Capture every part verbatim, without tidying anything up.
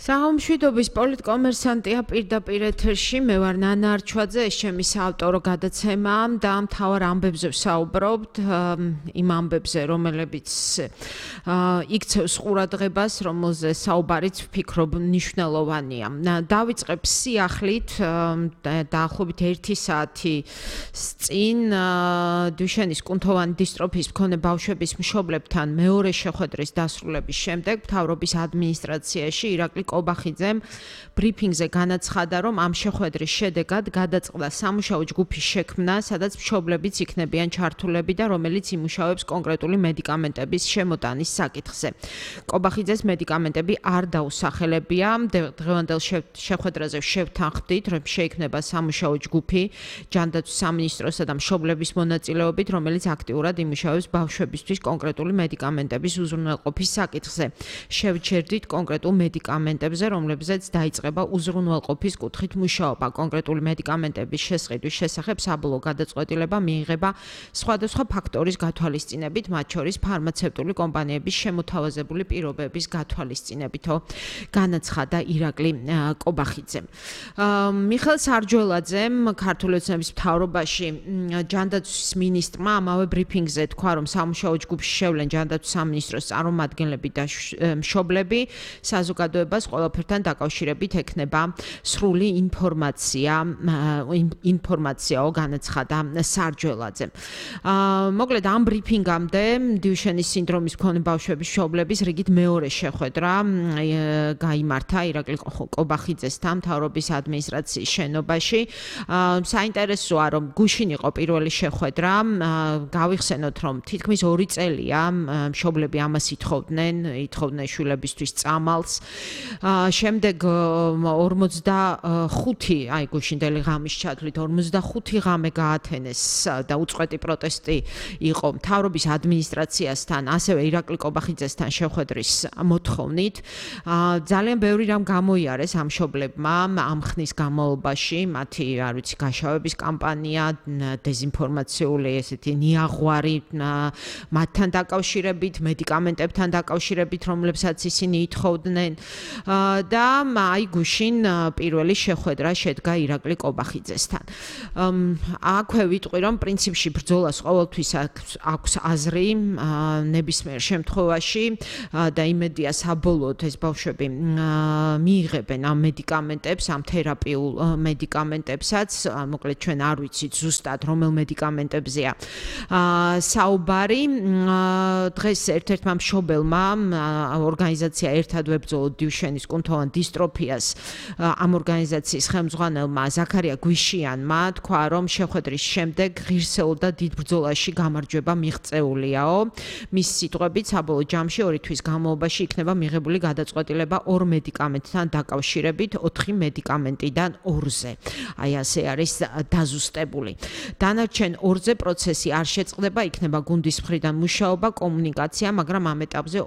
საომშვიდობის პოლიტკომერსანტია პირდაპირ ეთერში, მე ვარ ნანა არჩვაძე, ეს ჩემი საავტორო გადაცემაა და მთავარ ამბებზე ვსაუბრობთ, იმ ამბებზე, რომელებიც იქცევს ყურადღებას, რომელზე საუბარიც ვფიქრობ მნიშვნელოვანია. დავიწყებ სიახლით, დაახლოებით ერთი საათი წინ დუშენის კუნთოვანი დისტროფიის მქონე ბავშვების მშობლებთან მეორე შეხვედრის დასრულების შემდეგ მთავრობის ადმინისტრაციაში ირაკლი კობახიძემ ბრიფინგზე განაცხადა, რომ ამ შეხვედრის შედეგად გადაწყდა სამუშაო ჯგუფის შექმნა, სადაც მშობლებიც იქნებიან ჩართულები და რომელიც იმუშავებს კონკრეტული მედიკამენტების შემოტანის საკითხზე. კობახიძეს მედიკამენტები არ დაუსახელებია. დღევანდელ შეხვედრაზე შევთანხმდით, რომ შეიქმნება სამუშაო ჯგუფი ჯანდაცვის სამინისტროსა და მშობლების მონაწილეობით, რომელიც აქტიურად იმუშავებს ბავშვებისთვის კონკრეტული მედიკამენტების უზრუნველყოფის საკითხზე. შევჩერდით კონკრეტულ მედიკამენტებზე, რომლებზეც დაიწყება უზრუნველყოფის კუთხით მუშაობა. კონკრეტული მედიკამენტების შესყიდვის შესახებ საბოლოო გადაწყვეტილება მიიღება სხვადასხვა ფაქტორის გათვალისწინებით, მათ შორის ფარმაცევტული კომპანიების შემოთავაზებული პირობების გათვალისწინებითო განაცხადა ირაკლი კობახიძემ. მიხეილ სარჯველაძემ ქართული ოცნების მთავრობაში ჯანდაცვის მინისტრმა ამავე ბრიფინგზე თქვა, რომ სამუშაო ჯგუფში შევლენ ჯანდაცვის სამინისტროს წარმომადგენლები და მშობლები, საზოგადოებას ყველაფერთან დაკავშირებით ექნება სრული ინფორმაცია, ინფორმაციაო განაცხადა სარჯველაძემ. მოკლედ ამ ბრიფინგამდე დიუშენის სინდრომის მქონე ბავშვების მშობლების რიგით მეორე შეხვედრა გაიმართა ირაკლი კობახიძესთან მთავრობის ადმინისტრაციის შენობაში. საინტერესოა, რომ გუშინ იყო პირველი შეხვედრა. გავიხსენოთ, რომ თითქმის ორი წელია მშობლები ამას ითხოვდნენ, ითხოვდნენ შვილებისთვის წამალს. შემდეგ ორმოცდახუთი, აი გუშინდელი ღამის ჩათვლით ორმოცდახუთი ღამე გაათენეს და უწყვეტი პროტესტი იყო მთავრობის ადმინისტრაციასთან, ასევე ირაკლი კობახიძესთან შეხვედრის მოთხოვნით. ძალიან ბევრი რამ გამოიარეს ამ მშობლებმა ამ ხნის განმავლობაში, მათი, არ ვიცი, გაშავების კამპანია, დეზინფორმაციული ესეთი ნიაღვარი მათთან დაკავშირებით, მედიკამენტებთან დაკავშირებით, რომლებსაც ისინი ითხოვდნენ და აი გუშინ პირველი შეხვედრა შედგა ირაკლი კობახიძესთან. აქვე ვიტყვი, რომ პრინციპში ბრძოლას ყოველთვის აქვს აზრი ნებისმიერ შემთხვევაში და იმედია საბოლოოდ ეს ბავშვები მიიღებენ ამ მედიკამენტებს, ამ თერაპიულ მედიკამენტებსაც, მოკლედ ჩვენ არ ვიცით ზუსტად რომელ მედიკამენტებზეა საუბარი. დღეს ერთ-ერთმა მშობელმა ორგანიზაცია ერთად ვებრძოლოთ დიუშენის კუნთოვან დისტროფიას ამ ორგანიზაციის ხელმძღვანელმა ზაქარია გვიშიანმა თქვა, რომ შეხვედრის შემდეგ ღირსეულ და დიდ ბრძოლაში გამარჯვება მიღწეულიაო. მის სიტყვებით, საბოლოო ჯამში ორი თვის განმავლობაში იქნება მიღებული გადაწყვეტილება ორ მედიკამენტთან დაკავშირებით, ოთხი მედიკამენტიდან ორზე. აი ასე არის დაზუსტებული. დანარჩენ ორზე პროცესი არ შეწყდება, იქნება გუნდის მხრიდან მუშაობა, კომუნიკაცია, მაგრამ ამ ეტაპზე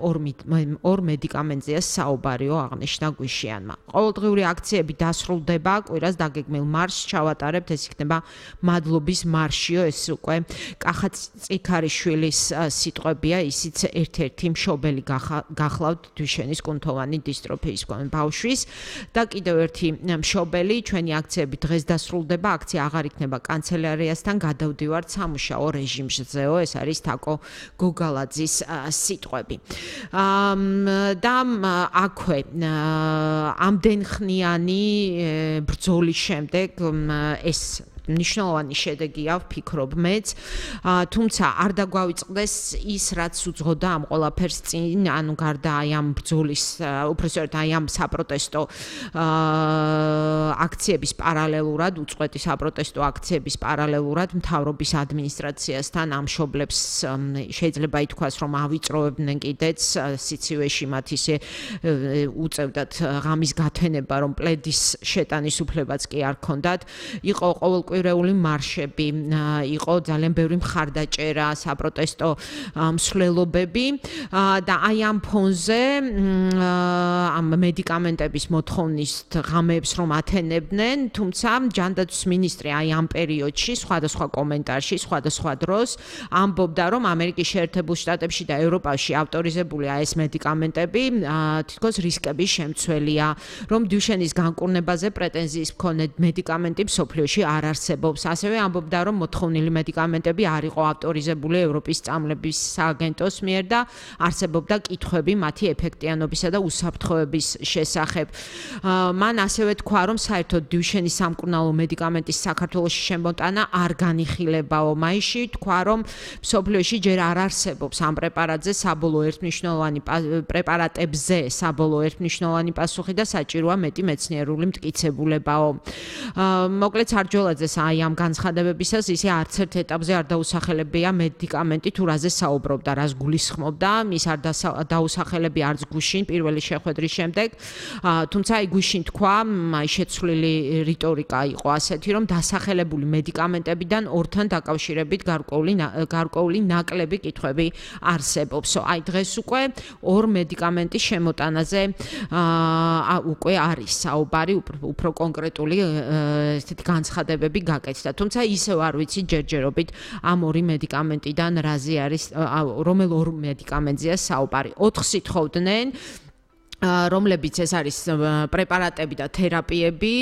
ორ მედიკამენტზეა საუბარიო, აღნიშნა გვიშიანმა. ყოველდღიური აქციები დასრულდება, კვირას დაგეგმილ მარშს ჩავატარებთ, ეს იქნება მადლობის მარშიო, ეს უკვე კახა წიქარიშვილის სიტყვებია, ისიც ერთ-ერთი მშობელი გახლავთ დუშენის კუნთოვანი დისტროფიის მქონე ბავშვის და კიდევ ერთი მშობელი, ჩვენი აქციები დღეს დასრულდება, აქცია აღარ იქნება კანცელარიასთან, გადავდივართ სამუშაო რეჟიმზეო, ეს არის თაკო გოგალაძის სიტყვები. და აქვე ამდენხნიანი ბრძოლის შემდეგ ეს მნიშვნელოვანი შედეგია, ვფიქრობ მეც, თუმცა არ დაგვავიწყდეს ის, რაც უძღოდა ამ ყველაფერს წინ, ანუ გარდა აი ამ ბრძოლის, უпроსტოდ აი ამ საპროტესტო აქციების პარალელურად, უწყვეტი საპროტესტო აქციების პარალელურად მთავრობის ადმინისტრაციასთან ამ მშობლებს შეიძლება ითქვას, რომ ავიწროვებდნენ კიდეც სიცივეში, მათ ისე უწევდათ ღამის გათენება, რომ პლედის შეტანის უფლებაც კი არ ჰქონდათ. იყო ყოველ მოკვირეული მარშები, იყო ძალიან ბევრი მხარდაჭერა, საპროტესტო მსვლელობები და აი ამ ფონზე ამ მედიკამენტების მოთხოვნის ღამეებს რომ ათენებდნენ, თუმცა ჯანდაცვის მინისტრი აი ამ პერიოდში სხვადასხვა კომენტარში, სხვადასხვა დროს ამბობდა, რომ ამერიკის შეერთებულ შტატებში და ევროპაში ავტორიზებულია ეს მედიკამენტები, თითქოს რისკების შემცველია, რომ დუშენის განკურნებაზე პრეტენზიის მქონე მედიკამენტი მსოფლიოში არ არსებობს. ასევე ამბობდა, რომ მოთხოვნილი მედიკამენტები არ იყო ავტორიზებული ევროპის წამლების სააგენტოს მიერ და არსებობდა კითხვები მათი ეფექტიანობისა და უსაფრთხოების შესახებ. მან ასევე თქვა, რომ საერთოდ დუშენის სამკურნალო მედიკამენტის საქართველოში შემოტანა არ განიხილებაო. მაისში თქვა, რომ მსოფლიოში ჯერ არ არსებობს ამ პრეპარატზე საბოლოო ერთმნიშვნელოვანი პრეპარატებზე საბოლოო ერთმნიშვნელოვანი პასუხი და საჭიროა მეტი მეცნიერული მტკიცებულებაო. მოკლედ სარჯოლაძეს აი ამ განცხადებებისას ისე არც ერთ ეტაპზე არ დაუსახელებია მედიკამენტი თუ რაზე საუბრობდა, რას გულისხმობდა, ის არ დაუსახელებია არც გუშინ პირველი შეხვედრის შემდეგ, თუმცა აი გუშინ თქვა, აი შეცვლილი რიტორიკა იყო ასეთი, რომ დასახელებული მედიკამენტებიდან ორთან დაკავშირებით გარკვეული გარკვეული ნაკლები კითხვები არსებობს. აი დღეს უკვე ორ მედიკამენტის შემოტანაზე უკვე არის საუბარი, უფრო კონკრეტული ესეთი განცხადებები გაკეთდა. თუმცა ისევ არ ვიცი ჯერჯერობით ამ ორი მედიკამენტიდან რაზე არის, რომელ ორ მედიკამენტზეა საუბარი. ოთხს ითხოვდნენ, რომლებიც ეს არის პრეპარატები და თერაპიები,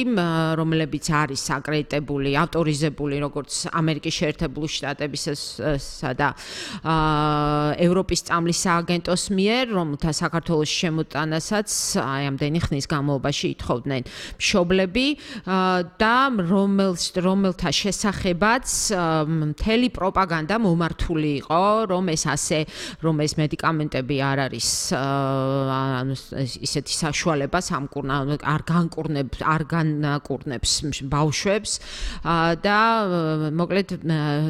რომლებიც არის აკრედიტებული, ავტორიზებული როგორც ამერიკის შეერთებული შტატებისა და ევროპის წამლის სააგენტოს მიერ, რომელთა საქართველოში შემოტანასაც აი ამდენი ხნის განმავლობაში ითხოვდნენ მშობლები და რომელთა შესახებაც მთელი პროპაგანდა მომართული იყო, რომ ეს ასე, რომ ეს მედიკამენტები არ არის ისეთი საშუალება სამკურნალო არ განკურნებს არ განკურნებს ბავშვებს და მოკლედ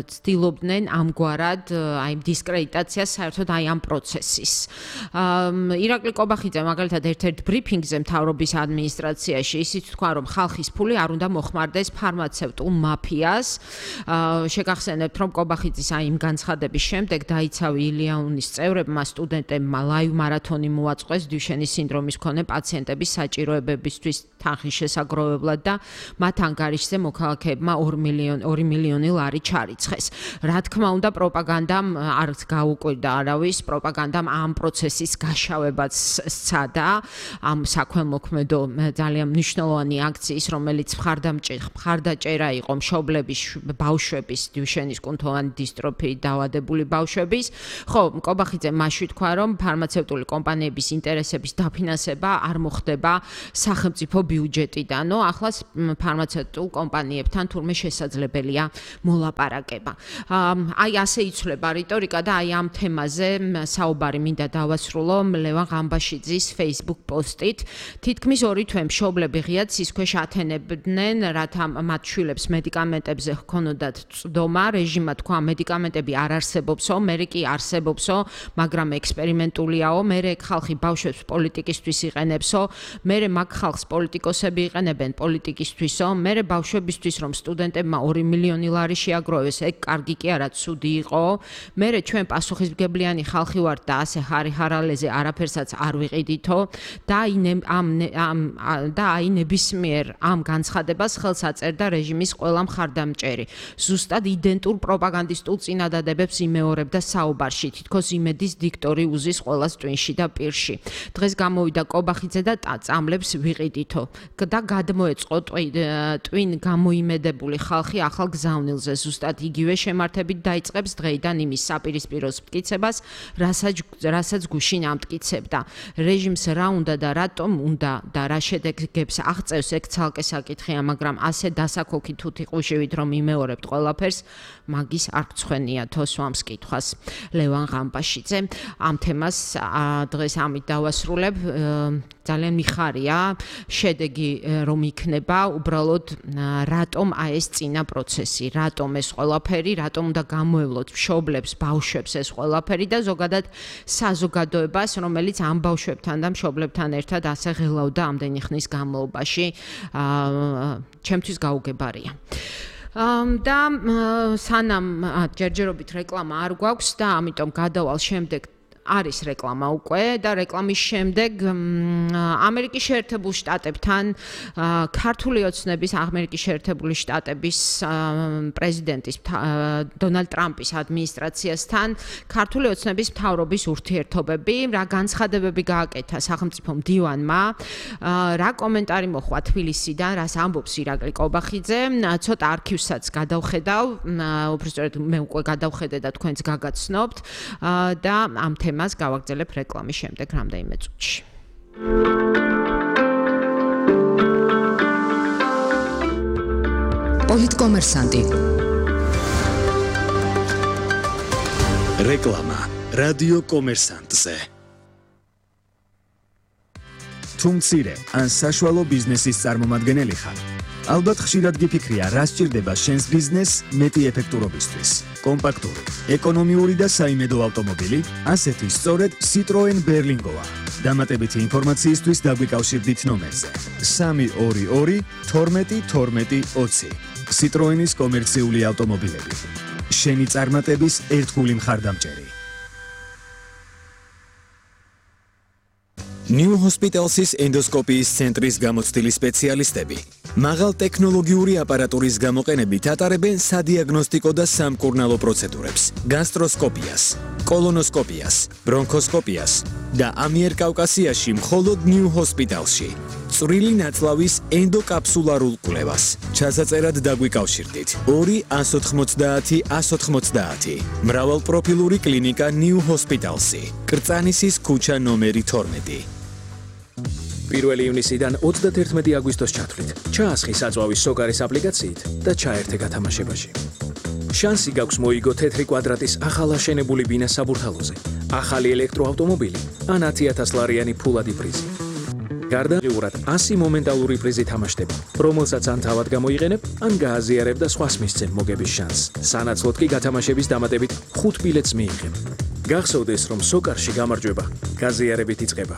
ცდილობდნენ ამგვარად აი დისკრედიტაციას საერთოდ აი ამ პროცესის. ირაკლი კობახიძე მაგალითად ერთ-ერთ ბრიფინგზე მთავრობის ადმინისტრაციაში ისიც თქვა, რომ ხალხის ფული არ უნდა მოხმარდეს ფარმაცევტულ მაფიას. შეგახსენებთ, რომ კობახიძის აი იმ განცხადების შემდეგ დაიცავი ილიანის წევრებმა სტუდენტებმა ლაივ მარათონი მოაწყვეს დუშენის სინდრომის მქონე პაციენტების საჭიროებებისთვის თანხის შესაგროვებლად და მათ ანგარიშზე მოქალაქეებმა ორი მილიონი ლარი ჩარიცხეს. რა თქმა უნდა, პროპაგანდამ არ გაუკვირდა არავის, პროპაგანდამ ამ პროცესის გაშავებაც სცადა, ამ საქველმოქმედო ძალიან მნიშვნელოვანი აქციის, რომელიც მხარდაჭერა იყო მშობლების, ბავშვების, დუშენის კუნთოვანი დისტროფიით დაავადებული ბავშვების. ხო, კობახიძე მასში თქვა, რომ ფარმაცევტული კომპანიების ინტერესების დაფინანსება არ მოხდება სახელმწიფო ბიუჯეტიდან. ნუ ახლა ფარმაცევტულ კომპანიებთან თურმე შესაძლებელია მოლაპარაკება. აი ასე იცვლება რიტორიკა და აი ამ თემაზე საუბარი მინდა დავასრულო ლევან ღამბაშიძის Facebook პოსტით. თითქმის ორი თვე მშობლები ღიად სისქვეშ ათენებდნენ, რათა მათ შვილებს მედიკამენტებზე ჰქონოდათ წვდომა. რეჟიმმა თქვა, მედიკამენტები არ არსებობსო, მერე კი არსებობსო, მაგრამ ექსპერიმენტულიაო, მერე ხალხი ბავშვებს პოლიტიკისთვის იყენებსო, მერე მაგ ხალხს პოლიტიკოსები იყენებენ პოლიტიკისთვისო, მერე ბავშვებისთვის რომ სტუდენტებმა ორი მილიონი ლარი შეაგროვეს, ეგ კარგი კი არა, ცუდი იყო, მერე ჩვენ პასუხისმგებლიანი ხალხი ვართ და ასე ჰარი-ჰარალეზე არაფერსაც არ ვიყიდითო და და აი ნებისმიერ ამ განცხადებას ხელს აწერდა რეჟიმის ყველა მხარდამჭერი. ზუსტად იდენტურ პროპაგანდისტულ წინადადებებს იმეორებდა საუბარში, თითქოს იმედის დიქტორი უზის ყველას ტვინში და პირში. დღეს გამოვიდა კობახიძე და წამლებს ვიყიდითო და გადმოეწყო ტვინ გამოიმედებული ხალხი ახალ გზავნილზე. ზუსტად იგივე შემართებით დაიწყებს დღეიდან იმის საპირისპირო მტკიცებას, რასაც გუშინ ამტკიცებდა. რეჟიმს რა უნდა და რატომ უნდა და რა შედეგებს აღწევს, ეგ ცალკე საკითხია, მაგრამ ასე დასაქოქი თუთი ყუშივით რომ იმეორებთ ყველაფერს, მაგის არ გცხვენია თოსვამს კითხვას. ლევან ღამბაშიძე ამ თემას დღეს ამით დავასრულებ. ძალიან მიხარია შედეგი რომ იქნება, უბრალოდ რატომ აი ეს წინა პროცესი, რატომ ეს ყველაფერი, რატომ უნდა გამოევლოთ მშობლებს, ბავშვებს ეს ყველაფერი და ზოგადად საზოგადოებას, რომელიც ამ ბავშვებთან და მშობლებთან ერთად ასე ღელავდა ამდენი ხნის განმავლობაში, ჩემთვის გაუგებარია. და სანამ ჯერჯერობით რეკლამა არ გვაქვს და ამიტომ გადავალ შემდეგ არის რეკლამა უკვე და რეკლამის შემდეგ ამერიკის შეერთებულ შტატებთან ქართული ოცნების ამერიკის შეერთებული შტატების პრეზიდენტის დონალდ ტრამპის ადმინისტრაციასთან ქართული ოცნების მთავრობის ურთიერთობები, რა განცხადებები გააკეთა სახელმწიფო მდივანმა, რა კომენტარი მოხვა თბილისიდან, რას ამბობს ირაკლი კობახიძე, ცოტა არქივსაც გადავხედავ, უბრალოდ მე უკვე გადავხედე და თქვენც გაგაცნობთ და ამ თემას მას გავაგრძელებ რეკლამის შემდეგ რამდენიმე წუთში. პოლიტკომერსანტი. რეკლამა რადიო კომერსანტზე. თუ მცირე ან საშუალო ბიზნესის წარმომადგენელი ხარ, ალბათ ხშირად გიფიქრია, რა სჭირდება შენს ბიზნესს მეტი ეფექტურობისთვის. კომპაქტური, ეკონომიური და საიმედო ავტომობილი, ასეთი სწორედ Citroen Berlingoა. დამატებითი ინფორმაციისთვის დაგვიკავშირდით ნომერზე სამი ორი ორი თორმეტი თორმეტი ოცი. Citroenis კომერციული ავტომობილები. შენი წარმატების ერთგული მხარდამჭერი. New Hospitals's ენდოსკოპიის ცენტრის გამოცდილი სპეციალისტები მაღალ ტექნოლოგიური აპარატურის გამოყენებით ატარებენ სადიაგნოსტიკო და სამკურნალო პროცედურებს, გასტროსკოპიას, კოლონოსკოპიას, ბრონქოსკოპიას და ამიერკავკასიაში მხოლოდ New Hospitalsში. წვრილი ნაწლავის ენდოკაფსულარულ კვლევას. ჩასაწერად დაგვიკავშირდით ორი ათს ოცდაათი ათს ოცდაათი. მრავალპროფილური კლინიკა New Hospitalsი. კრწანისის ქუჩა ნომერი თორმეტი. პირველი ივნისიდან ოცდაერთი აგვისტოს ჩათვლით. ჩაასხი საწვავის სოკარის აპლიკაციით და ჩაერთე გათამაშებაში. შანსი გაქვს მოიგო თეთრი კვადრატის ახალ აშენებული ბინა საბურთალოზე, ახალი ელექტროავტომობილი ან ათი ათას ლარიანი ფულადი პრიზი. გარდაღებულად ასი მომენტალური პრიზი თამაშდება, რომელსაც ან თავად გამოიყენებ, ან გააზიარებ და სხვას მისცემ მოგების შანსს. სანაცვლოდ კი გათამაშების დამატებით ხუთ ბილეთს მიიღებ. გახსოვდეს, რომ სოკარში გამარჯვება გაზიარებით იწყება.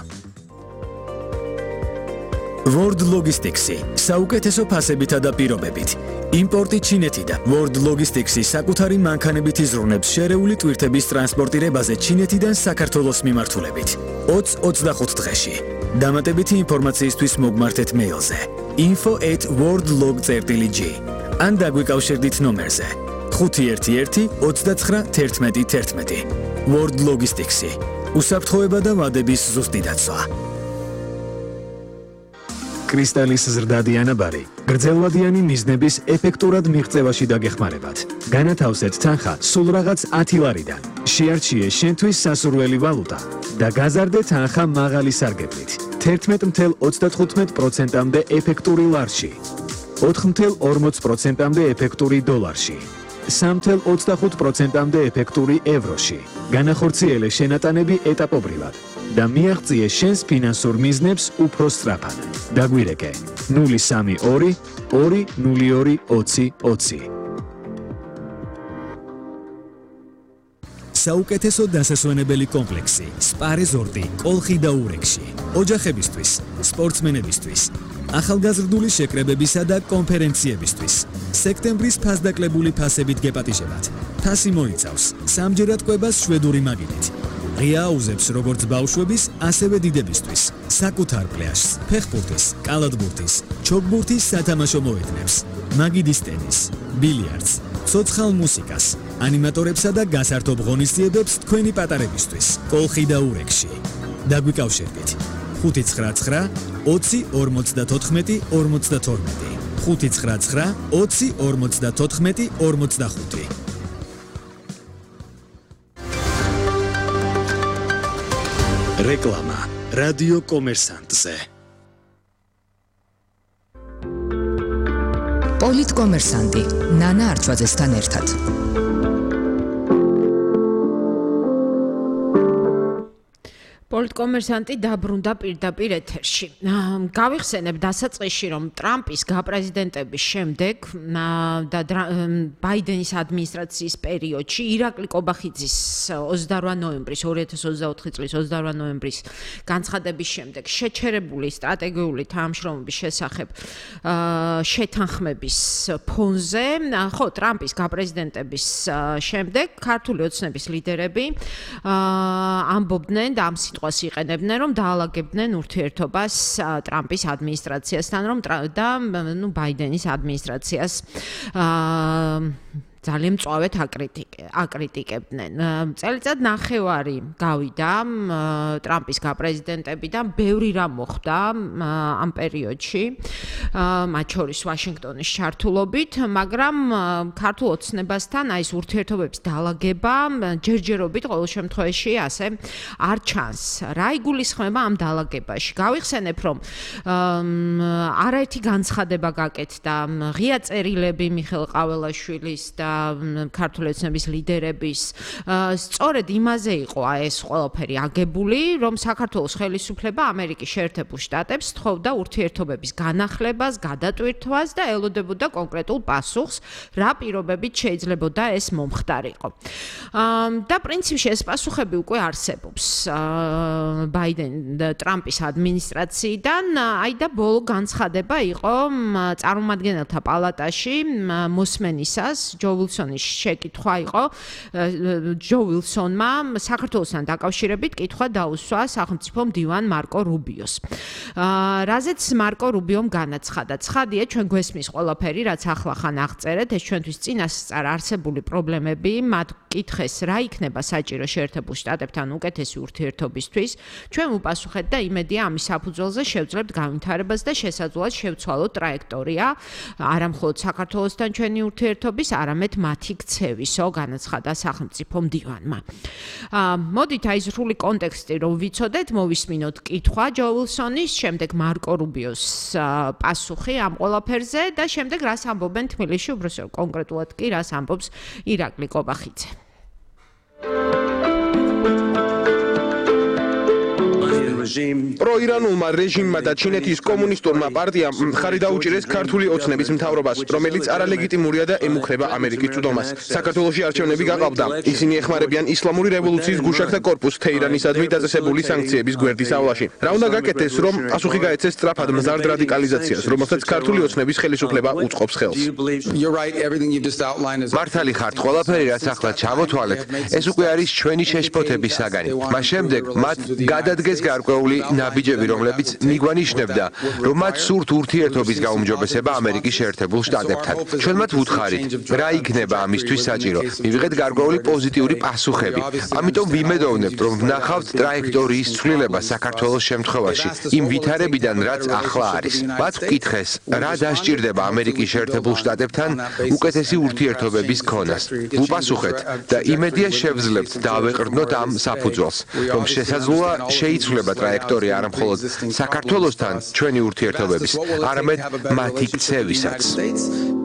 World Logistics-ი საუკეთესო ფასებითა და პირობებით. იმპორტი ჩინეთიდან. World Logistics-ი საკუთარი მანქანებით იზრუნებს შერეული ტვირთების ტრანსპორტირებაზე ჩინეთიდან საქართველოს მიმართულებით. ოცი ოცდახუთ დღეში. დამატებითი ინფორმაციისთვის მოგმართეთ მეილზე info at worldlog წერტილი g ან დაგვიკავშირდით ნომერზე ხუთი ერთი ერთი ოცდაცხრა თერთმეტი თერთმეტი. World Logistics-ი უსაფრთხოება და ვადების ზუსტი დაცვა. კრისტალის ზრდადი ანაბარი გრძელვადიანი მიზნების ეფექტურად მიღწევაში დაგეხმარებათ. განათავსეთ თანხა სულ რაღაც ათი ლარიდან. შეარჩიე შენთვის სასურველი ვალუტა და გაზარდე თანხა მაღალი სარგებლით. თერთმეტი ათას ოცდათხუთმეტ პროცენტამდე ეფექტური ლარში. ოთხი ათას ორმოც პროცენტამდე ეფექტური დოლარში. სამი ათას ოცდახუთ პროცენტამდე ეფექტური ევროში. განახორციელე შენატანები ეტაპობრივად და მიაღწიე შენს ფინანსურ მიზნებს უფრო სწრაფად. დაგვირეკე ნული სამი ორი ორი ნული ორი ოცი ოცი. საუკეთესო დასასვენებელი კომპლექსი სპა რეზორტი კოლხი და ურეკში. ოჯახებისთვის, სპორტსმენებისთვის, ახალგაზრდული შეკრებებისა და კონფერენციებისთვის. სექტემბრის ფასდაკლებული ფასებით გეპატიჟებათ. ფასი მოიცავს სამჯერად კვებას შვედური მაგიდით. ღია აუზებს როგორც ბავშვების, ასევე დიდებისთვის. საკუთარ პლაჟს, ფეხბურთის, კალათბურთის, ჩოგბურთის სათამაშო მოედნებს, მაგიდის ტენის, ბილიარდს, ცოცხალ მუსიკას, ანიმატორებსა და გასართობ ღონისძიებებს თქვენი პატარებისთვის. კოლხი და ურეკში. დაგვიკავშირდით ხუთი ცხრა ცხრა ოცი ორმოცდათოთხმეტი ორმოცდათორმეტი. ხუთი ცხრა ცხრა ოცი ორმოცდათოთხმეტი ორმოცდახუთი. რეკლამა რადიო კომერსანტზე. პოლიტკომერსანტი ნანა არჩვაძესთან ერთად. პოლიტკომერსანტი დაბრუნდა პირდაპირ ეთერში. გავიხსენებ დასაწყისში, რომ ტრამპის გაპრეზიდენტების შემდეგ და ბაიდენის ადმინისტრაციის პერიოდში ირაკლი კობახიძის ოცდაორვა ნოემბრის ორი ათას ოცდაოთხი წლის ოცდაორვა ნოემბრის განცხადების შემდეგ შეჩერებული სტრატეგიული თანამშრომლობის შესახებ შეთანხმების ფონზე, ხო, ტრამპის გაპრეზიდენტების შემდეგ ქართული ოცნების ლიდერები ამბობდნენ და ამ სიტყვას იყენებდნენ, რომ დაალაგებდნენ ურთიერთობას ტრამპის ადმინისტრაციასთან, რომ და ნუ ბაიდენის ადმინისტრაციას ძალიან მწვავედ აკრიტიკებდნენ. წელიწად ნახევარი გავიდა ტრამპის გაპრეზიდენტებიდან, ბევრი რამ მოხდა ამ პერიოდში, მათ შორის ვაშინგტონის ჩართულობით, მაგრამ ქართულ ოცნებასთან აი ეს ურთიერთობების დაალაგება ჯერჯერობით ყოველ შემთხვევაში ასე არ ჩანს. რა იგულისხმება ამ დაალაგებაში? გავიხსენებ, რომ არაერთი განცხადება გაკეთდა ღია წერილები მიხეილ ყაველაშვილის და ქართული ოცნების ლიდერების, სწორედ იმაზე იყო ეს ყველაფერი აგებული, რომ საქართველოს ხელისუფლება ამერიკის შეერთებულ შტატებს თხოვდა ურთიერთობების განახლებას, გადატვირთვას და ელოდებოდა კონკრეტულ პასუხს, რა პირობებით შეიძლებოდა ეს მომხდარიყო. და პრინციპში ეს პასუხები უკვე არსებობს ბაიდენ ტრამპის ადმინისტრაციიდან, აი და ბოლო განცხადება იყო წარმომადგენელთა პალატაში მოსმენისას, ჯო ვილსონის შეკითხვა იყო, ჯო ვილსონმა საქართველოსთან დაკავშირებით კითხვა დაუსვა სახელმწიფო მდივან მარკო რუბიოს. რაზეც მარკო რუბიომ განაცხადა, ცხადია, ჩვენ გვესმის ყველაფერი, რაც ახლახან აღწერეთ, ეს ჩვენთვის წინასწარ არსებული პრობლემები, მათ კითხეს, რა იქნება საჭირო შეერთებულ შტატებთან უკეთესი ურთიერთობისთვის, ჩვენ ვუპასუხეთ და იმედია ამის საფუძველზე შევძლებთ განვითარებას და შესაძლოა შევცვალოთ ტრაექტორია, არა მხოლოდ საქართველოსთან ჩვენი ურთიერთობის, არამედ მათი ქცევისო, განაცხადა სახელმწიფო მდივანმა. მოდით აი სრული კონტექსტი რომ ვიცოდეთ, მოვისმინოთ კითხვა ჯო ვილსონის, შემდეგ მარკო რუბიოს პასუხი ამ ყველაფერზე და შემდეგ რას ამბობენ თბილისში, უბრალოდ კონკრეტულად კი რას ამბობს ირაკლი კობახიძე. პროირანულმა რეჟიმმა და ჩინეთის კომუნისტურმა პარტიამ მხარი დაუჭირეს ქართული ოცნების მთავრობას, რომელიც არალეგიტიმურია და ემუქრება ამერიკის წვდომას. საქართველოში არჩევნები გაყავდა. ისინი ეხმარებიან ისლამური რევოლუციის გუშაგთა კორპუსს თეირანისადმი დაწესებული სანქციების გვერდის ავლაში. რა უნდა გაკეთდეს, რომ პასუხი გაეცეს სწრაფად მზარდ რადიკალიზაციას, რომელსაც ქართული ოცნების ხელისუფლება უწყობს ხელს? მართალი ხართ, ყველაფერი რაც ახლა ჩამოთვალეთ, ეს უკვე არის ჩვენი შეშფოთების საგანი. მას შემდეგ მათ გადადგეს გარკვეული ნაბიჯები, რომლებიც მიგვანიშნებდა, რომ მათ სურთ ურთიერთობის გაუმჯობესება ამერიკის შეერთებულ შტატებთან. ჩვენ მათ ვუთხარით, რა იქნება ამისთვის საჭირო. მივიღეთ გარკვეული პოზიტიური პასუხები. ამიტომ ვიმედოვნებთ, რომ ვნახავთ ტრაექტორიის ცვლილება საქართველოს შემთხვევაში, იმ ვითარებიდან, რაც ახლა არის. მათ ვკითხეს, რა დასჭირდება ამერიკის შეერთებულ შტატებთან უკეთესი ურთიერთობების ქონას. ვუპასუხეთ და იმედია შევძლებთ დავეყრდნოთ ამ საფუძველს, რომ შესაძლოა შეიცვლება ტრაექტორია არა მხოლოდ საქართველოსთან ჩვენი ურთიერთობების, არამედ მათი ქცევისაც.